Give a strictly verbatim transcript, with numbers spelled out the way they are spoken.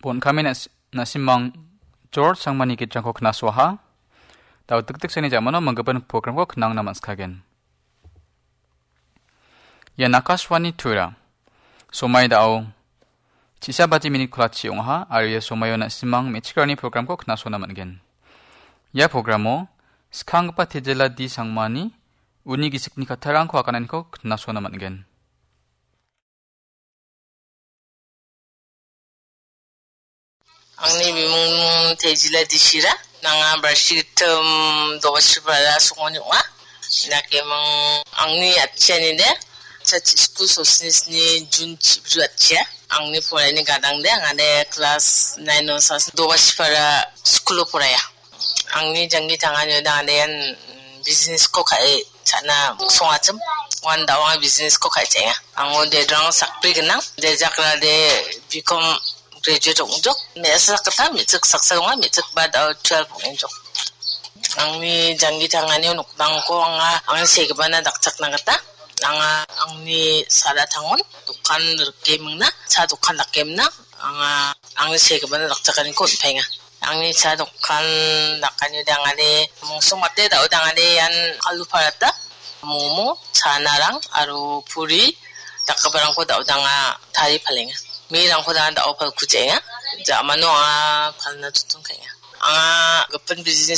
Bon kami nas-, nasimang George Sangmani gitrangko knasoaha. Dao dikdiksani jamano manggipan programko knangna man·skagen. Ia Nakaswani Tura. Somai dao chisa bati minit kolachi ong·aha, aro ia somaio nasimang me·chikrani programko knasona man·gen. Ia programo skanggipa Tejela D Sangmani uni gisikni kattarangko agananiko knasona man·gen. Angni bimung Tejila Dishira, nanga barsi gittim Dobasipara songoni ong·a. Nakemang angni atchiani de, chachi skul sosni sni Jun chibru atchia. Angni poraini gadang de, angade kelas nine o sas Dobasipara skulo poraya. Angni janggi tangani uda ande ian business ko ka·e cha·na songachim. Wan dao anga business ko ka·e cha·enga. Ango dedrang sakbri gnang. Dejakra de B Com graduate ong·jok. Me·asa sakgita me·chik saksa donga, me·chik ba dao twelve ong·enjok. Angni janggi tangani nokdangko anga angni segipana dakchakna gita anga angni sara tangon dokan rike mingna, cha dokan dake mingna, anga angni segipana dakchakaniko on·paenga. Angni cha dokan dakani dangani mungsong mate dao dangani ian alu parata, momo, chanarang aro puri dakgiparangko dao danga tarie palenga. Mirangko danga dao palku ja·enga. Ja·mano anga palna chotton ka·enga. Anga gipin business